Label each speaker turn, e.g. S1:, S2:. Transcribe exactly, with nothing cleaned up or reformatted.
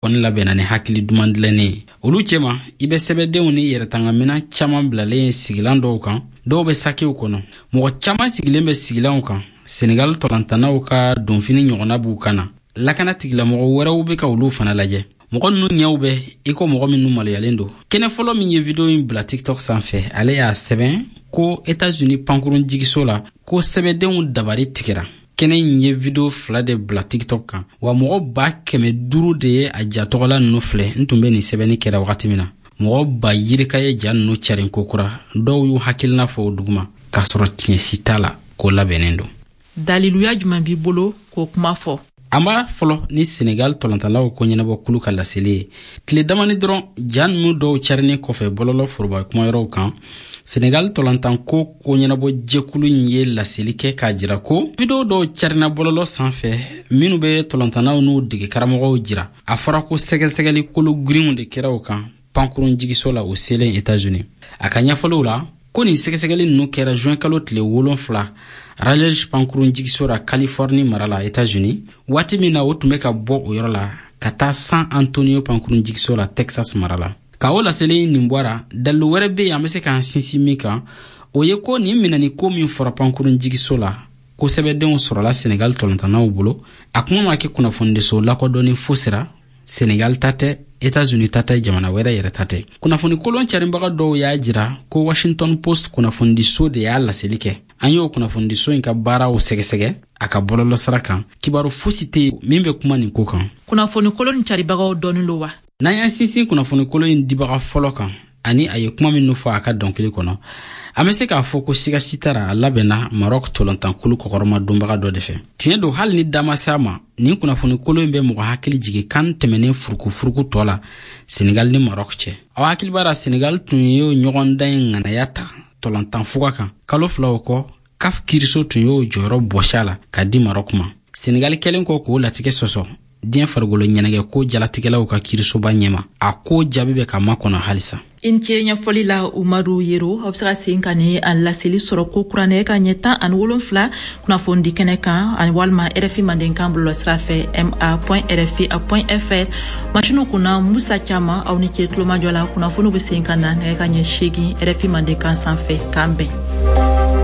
S1: Kɔni labɛnna ni hakili duman dilannen ye. Olu cɛma, i bɛ sɛbɛdenw ni yɛrɛtangamina caman bilalen ye sigilan dɔw kan, dɔw bɛ sakiw kɔnɔ. Mɔgɔ caman sigilen bɛ sigilanw kan, Senegal tɔlantannaw ka donfini ɲɔgɔnna b'u kan na. Lakana tigilamɔgɔ wɛrɛw bɛ ka olu fana lajɛ. Mɔgɔ ninnu ɲɛw bɛ i ko mɔgɔ minnu maloyalen don. Kɛnɛ fɔlɔ min ye video in bila TikTok sanfɛ, ale y'a sɛbɛn ko Etats-Unis pankurun jigiso la, ko sɛbɛdenw dabari tigɛra. Kɛnɛ in ye video fila de bila TikTok kan wa, mɔgɔ ba kɛmɛ duuru de ye a ja tɔgɔla ninnu filɛ. N tun bɛ nin sɛbɛnni kɛra wagati min na, mɔgɔ ba yirika ye ja ninnu carin kokura. Dɔw y'u hakilina fɔ o duguma k'a sɔrɔ tiɲɛ si t'a la, ko labɛnnen don.
S2: Daliluya jumɛn b'i bolo k'o kuma fɔ?
S1: An b'a fɔlɔ ni Senegal tɔlɔntalaw ko ɲɛnabɔ kulu ka laseli ye. Tile damani dɔrɔn ja ninnu dɔw carinen kɔfɛ bɔlɔlɔ foroba kumayɔrɔw kan, Senegal tɔlɔntanko ko ɲɛnabɔ jɛkulu in ye laseli kɛ k'a jira ko video dɔw carina bɔlɔlɔ sanfɛ minnu bɛ tɔlɔntannaw n'u dege karamɔgɔw jira. A fɔra ko sɛgɛsɛgɛli kolo girinw de kɛra o kan pankurun jigiso la o selen Etats-Unis. A ka ɲɛfɔliw la, ko nin sɛgɛsɛgɛli ninnu kɛra juin kalo tile wolonfila Raleigh pankurun jigiso la, Californie mara la, Etats-Unis, waati min na o tun bɛ ka bɔ o yɔrɔ la ka taa San Antonio pankurun jigiso la, Texas mara la. Ka o laseli nin bɔra, dalilu wɛrɛ bɛ yen an bɛ se k'an sinsin min kan, o ye ko nin minɛni ko min fɔra pankurun jigiso la, ko sɛbɛdenw sɔrɔla Senegal tɔlɔntannaw bolo, a kuma ma kɛ kunnafonidiso lakodɔnni fosi ra. Senegal ta tɛ, Etats-Unis ta tɛ, jamana wɛrɛ yɛrɛ ta tɛ. Kunnafoni kolon carinbaga dɔw y'a jira ko Washington Post kunnafonidiso de y'a laseli kɛ. An y'o kunnafonidiso in ka baaraw sɛgɛsɛgɛ a ka bɔlɔlɔsira kan, kibaru fosi tɛ yen min bɛ kuma nin ko kan.
S2: Kunnafoni kolon caribagaw dɔɔnin lo wa?
S1: N'an y'an sinsin kunnafoni kolon in dibaga fɔlɔ kan ani a ye kuma minnu fɔ a ka dɔnkili kɔnɔ, an bɛ se k'a fɔ ko siga si t'a ra, a labɛnna Marɔk tɔlɔntankulu kɔkɔrɔma donbaga dɔ de fɛ. Tiɲɛ don, hali ni da ma se a ma, nin kunnafoni kolon in bɛ mɔgɔ hakili jigin kan tɛmɛnen furukufuruku tɔ la Senegal ni Marɔk cɛ. Aw hakili b'a la, Senegal tun ye ɲɔgɔndan in ŋanaya ta tɔlɔntan fuga kan. Kalo fila o kɔ, CAF kiriso tun y'o jɔyɔrɔ bɔsi a la ka di Marɔk ma. Senegal kɛlen kɔ k'o latigɛ sɔsɔ diɲɛ farikolo ɲɛnagɛ ko jalatigɛlaw ka kirisoba ɲɛma, a ko jaabi bɛ ka makɔnɔ halisa.
S2: I ni ce ɲɛfɔli la, Umaru Yero. Aw be se ka segin ka ni a laseli sɔrɔ ko kuranɛ ka ɲɛ tan ani wolonfila kunnafonidi kɛnɛ kan ani walima R F I Mandenkan bɔlɔlɔsira fɛ, ma rfi fr. Masiniw kunna, Musa Cama. Aw ni ce tulomajɔ la. Kunnafoniw be segin ka na nɛgɛ ka ɲɛ seegin R F I Mandenkan sanfɛ. K'an bɛn.